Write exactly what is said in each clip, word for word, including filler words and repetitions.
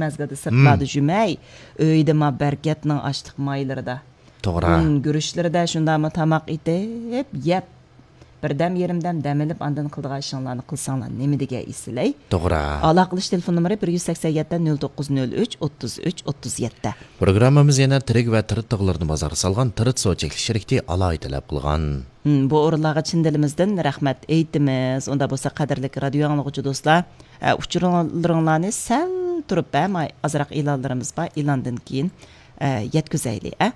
مەزگىلدە سىرتلاردا جۈمەي، ئۆيدە ما بەرىكەتنىڭ ئاشلىق مايلىرىدا، توغرا، ئۇن گۈرۈچلىرىدە شۇنداقمۇ تاماق ئېتىپ، يەپ، بىردەم يېرىم دەم دەم ئېلىپ، ئاندىن قىلىدىغان ئىشىڭلارنى قىلساڭلار نېمە دېگەن ئېسىلەي. توغرا. ئالاقىلىشىش تېلېفون نومۇرى بىر يۈز سەكسەن يەتتە، نۆل توققۇز نۆل ئۈچ، ئوتتۇز ئۈچ، ئوتتۇز يەتتە. پروگراممىمىز يەنە تىرىك ۋە تىرىت تاغلىرىنى بازارغا سالغان تىرىت سۇ چەكلىك شىركىتى ئالاھىدە تەلەپ قىلغان. ھىم، بۇ ئورۇنلارغا چىن دىلىمىزدىن رەھمەت ئېيتىمىز. ئۇندا بولسا قەدىرلىك رادىيو ئاڭلىغۇچى دوستلار، ئە، ئۇچۇرلىرىڭلارنى سەل تۇرۇپ، ئە، ماي-، ئازراق ئېلانلىرىمىز بار، ئېلاندىن كېيىن، ئە، يەتكۈزەيلى، ئە.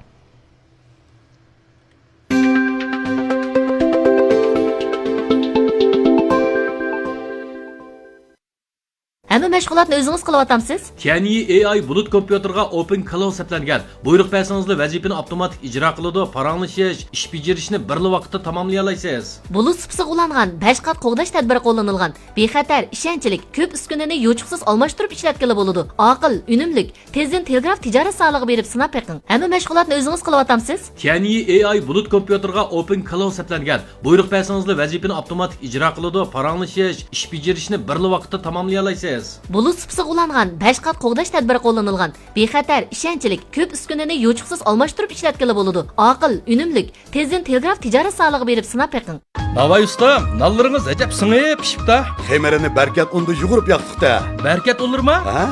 ھەممە مەشغۇلاتنى ئۆزىڭىز قىلىۋاتامسىز؟ تيەنيى ئېي ئاي بۇلۇت كومپيۇتېرغا ئوپېن كلاۋ سەپلەنگەن. بۇيرۇق بەرسىڭىزلا ۋەزىپىنى ئاپتوماتىك ئىجرا قىلىدۇ، پاراڭلىشىش، ئىش بېجىرىشنى بىرلا ۋاقىتتا تاماملىيالايسىز. بۇلۇت سۇپىسىغا ئۇلانغان، بەش قات قوغداش تەدبىرى قوللىنىلغان. بىخەتەر، ئىشەنچلىك، كۆپ ئۈسكۈنىنى يوچۇقسىز ئالماشتۇرۇپ ئىشلەتكىلى بولىدۇ. ئاقىل، ئۈنۈملۈك، تېزدىن تېلېگراف تىجارەت زالىغا بېرىپ سىناپ بېقىڭ. ھەممە مەشغۇلاتنى ئۆزىڭىز قىلىۋاتامسىز؟ تيەنيى ئېي ئاي بۇلۇت كومپيۇتېرغا ئوپېن كلاۋ سەپلەنگەن. بۇيرۇق بەرسىڭىزلا ۋەزىپىنى ئاپتوماتىك ئىجرا قىلىدۇ، پاراڭلىشىش، ئىش بېجىرىشنى بىرلا ۋاقىتتا تاماملىيالايسىز. بۇلۇت سۇپىسىغا ئۇلانغان، بەش قات قوغداش تەدبىرى قوللىنىلغان. بىخەتەر، ئىشەنچلىك، كۆپ ئۈسكۈنىنى يوچۇقسىز ئالماشتۇرۇپ ئىشلەتكىلى بولىدۇ. ئاقىل، ئۈنۈملۈك، تېزدىن تېلېگراف تىجارەت زالىغا بېرىپ سىناپ بېقىڭ. ناۋاي ئۇستام، نانلىرىڭىز ئەجەب سىڭىپ پىشىپتا. خېمىرىنى بەركەت ئۇندا يۇغۇرۇپ ياقتۇق-تە. بەركەت ئۇنلىرىما؟ ھە؟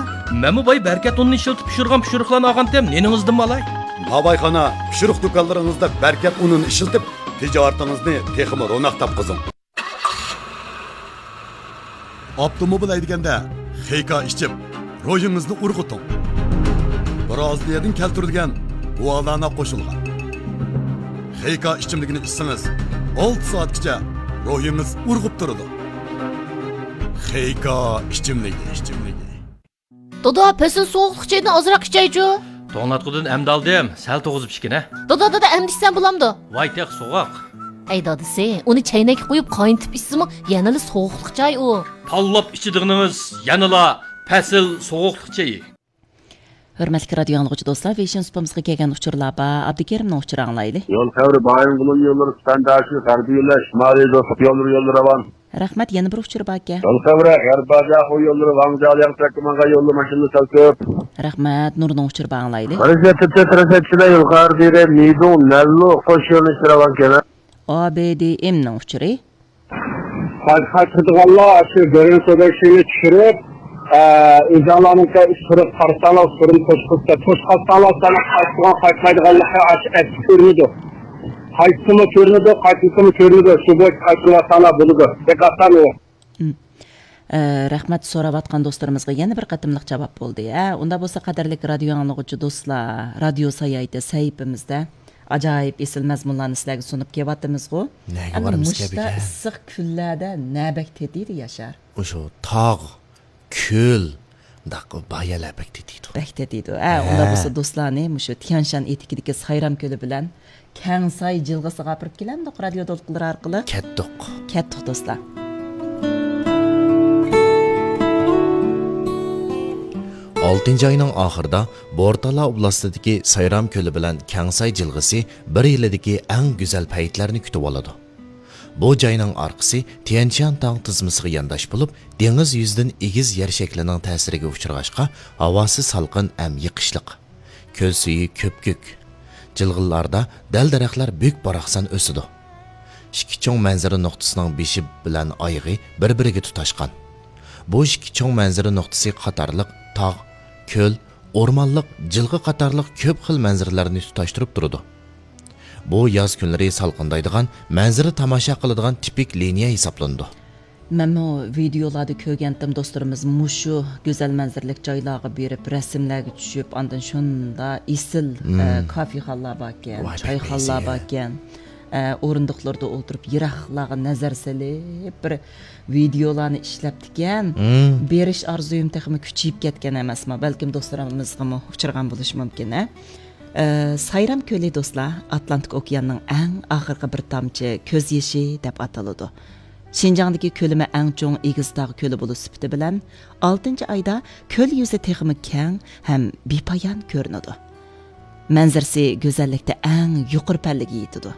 مەنمۇ باي بەركەت ئۇنىنى ئىشلىتىپ پىشۇرغان پىشۇرۇقلارنى ئالغانتىم، نېنىڭىزدىنمۇ ئالاي؟ ناۋايخانا، پىشۇرۇق دۇكانلىرىڭىزدا بەركەت ئۇنىنى ئىشلىتىپ، تىجارىتىڭىزنى تېخىمۇ روناق تاپقۇزۇڭ. ئاپتوموبىل ھەيدىگەندە خېيكا ئىچىپ، روھىڭىزنى ئۇرغۇتۇڭ. برازىلىيەدىن كەلتۈرۈلگەن گۇالانا قوشۇلغان خېيكا ئىچىملىكىنى ئىچسىڭىز، ئالتە سائەتكىچە روھىڭىز ئۇرغۇپ تۇرىدۇ. خېيكا ئىچىملىكى، ئىچىملىكى. دادا، پەسىل سوغۇقلۇق چايدىن ئازراق ئىچەيچۇ. توڭلاتقۇدىن ئەمدى ئالدىم، سەل توغۇزۇپ ئىچكىنە. دادا، دادا، ئەمدى ئىچسەم بولامدۇ؟ ۋاي، تېخى سوغۇق. ئەي دادىسى، ئۇنى چەينەككە قۇيۇپ قاينىتىپ ئىچسىمۇ يەنىلا سوغۇقلۇق چاي ئۇ. پاللاپ ئىچىدىغىنىڭىز يەنىلا پەسىل سوغۇقلۇق چېيى. ھۆرمەتلىك رادىيو ئاڭلىغۇچى دوستلار، ۋېيشىن سۇپىمىزغا كەلگەن ئۇچۇرلار بار. ئابدۇكېرىمنىڭ ئۇچۇرى ئاڭلايلى. يول خەۋىرى، بايىنغولىن يوللىرى، سۈپەنداشى، غەربىي يۆلەش، شىمالىي دوستلۇق يوللىرى، يوللىرى راۋان. رەھمەت، يەنە بىر ئۇچۇر باركەن. يول خەۋىرى، غەربىي باجاخۇ يوللىرى، ۋاڭجياۋ ياڭچەككە ماڭغان يولدا ماشىنىلار سەل كۆپ. رەھمەت، نۇرنىڭ ئۇچۇرى بار ئاڭلايلى. مەركىزىيەت تۈركىيە تىرانسەتچىلەر يول خەۋىرى، مىدۇڭ، نەللۇ، قوش يۆنىلىشتە راۋان كېلە. ئا بې دې ئېمنىڭ ئۇچۇرى. قايتىدىغانلار شۇ گۆرۈن سوداكىنى چۈشۈرۈپ، ئە، ئۆزۈڭلارنىڭكى ئۈستىگە قارىساڭلار، ئۈستىدىن توشقۇزسا، توشقازساڭلار، سانا قايتىدىغان، قايتمايدىغانلىقى ئاشۇ ئەتىسى كۆرۈنىدۇ. قايتسىمۇ كۆرۈنىدۇ، قايتمىسىمۇ كۆرۈنىدۇ. شۇ بويىچە قايتىۋاتساڭلار بولىدۇ. دىققەت قىلىڭ. ئە، رەھمەت، سوراۋاتقان دوستلىرىمىزغا يەنە بىر قېتىملىق جاۋاب بولدى. ئە، ئۇنداق بولسا، قەدىرلىك رادىيو ئاڭلىغۇچى دوستلار، رادىيو ساياھىتى سەھىپىمىزدە ئاجايىپ ئېسىل مەزمۇنلارنى سىلەرگە سۇنۇپ كېلىۋاتىمىزغۇ. نەگە ئەمدى بارىمىز مۇشتا كەپىكە؟ ئىسسىق كۈنلەردە نە بەك تېتىيدۇ، ياشار؟ مۇشۇ تاغ، كۆل، مۇنداق بايا لەپەك تېتىيدۇ. بەك تېتىيدۇ. ھە، ھە. ئۇنداق بولسا دوستلارنى مۇشۇ تيەنشان ئېتىكىدىكى سايرام كۆلى بىلەن كەڭساي جىلغىسىغا ئاپىرىپ كېلەمدۇق رادىيو دولقۇنلىرى ئارقىلىق؟ كەتتۇق. كەتتۇق دوستلار. ئالتىنچى ئاينىڭ ئاخىرىدا بورتالا ئوبلاستىدىكى سايرام كۆلى بىلەن كەڭساي جىلغىسى بىر يىلدىكى ئەڭ گۈزەل پەيتلەرنى كۈتۈۋالىدۇ. بۇ جاينىڭ ئارقىسى تيەنشان تاغ تىزمىسىغا يانداش بولۇپ، دېڭىز يۈزىدىن ئېگىز يەر شەكلىنىڭ تەسىرىگە ئۇچرىغاچقا، ھاۋاسى سالقىن ھەم يېقىشلىق. كۆل سۈيى كۆپكۆك. جىلغىلاردا دەل-دەرەخلەر بۈك-باراقسان ئۆسىدۇ. ئىككى چوڭ مەنزىرە نۇقتىسىنىڭ بېشى بىلەن ئايىغى بىر-بىرىگە تۇتاشقان. بۇ ئىككى چوڭ مەنزىرە نۇقتىسى قاتارلىق تاغ، كۆل، ئورمانلىق، جىلغا قاتارلىق كۆپ خىل مەنزىرىلەرنى تۇتاشتۇرۇپ تۇرىدۇ. بۇ ياز كۈنلىرى سالقىندايدىغان، مەنزىرە تاماشا قىلىدىغان تىپىك لىنىيە ھېسابلىنىدۇ. مەنمۇ ۋىدېئولاردا كۆرگەنتىم، دوستلىرىمىز مۇشۇ گۈزەل مەنزىرىلىك جايلارغا بېرىپ، رەسىملەرگە چۈشۈپ، ئاندىن شۇنداق ئېسىل، مم. ئە، كافېخانىلار باركەن، ۋاي، بەك چايخانىلار ئېسىل. باركەن. ئە، ئورۇندۇقلىرىدا ئولتۇرۇپ، يىراقلارغا نەزەر سېلىپ، بىر ۋىدېئولارنى ئىشلەپتىكەن. مم. بېرىش ئارزۇيۇم تېخىمۇ كۈچىيىپ كەتكەن ئەمەسما، بەلكىم دوستلىرىمىزغىمۇ ئۇچرىغان بولۇشى مۇمكىن، ھە؟ ئە، سايرام كۆلى، دوستلار، ئاتلانتىك ئوكياننىڭ ئەڭ ئاخىرقى بىر تامچە كۆز يېشى دەپ ئاتىلىدۇ. شىنجاڭدىكى كۆلىمى ئەڭ چوڭ ئېگىز تاغ كۆلى بولۇش سۈپىتى بىلەن، ئالتىنچى ئايدا كۆل يۈزى تېخىمۇ كەڭ ھەم بىپايان كۆرۈنىدۇ. مەنزىرىسى گۈزەللىكتە ئەڭ يۇقىرى پەللىگە يېتىدۇ.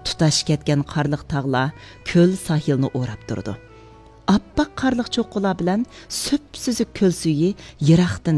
تۇتاش كەتكەن قارلىق تاغلار كۆل ساھىلنى ئوراپ تۇرىدۇ. ئاپئاق قارلىق چوققىلار بىلەن سۈپسۈزۈك كۆل سۈيى يىراقتىن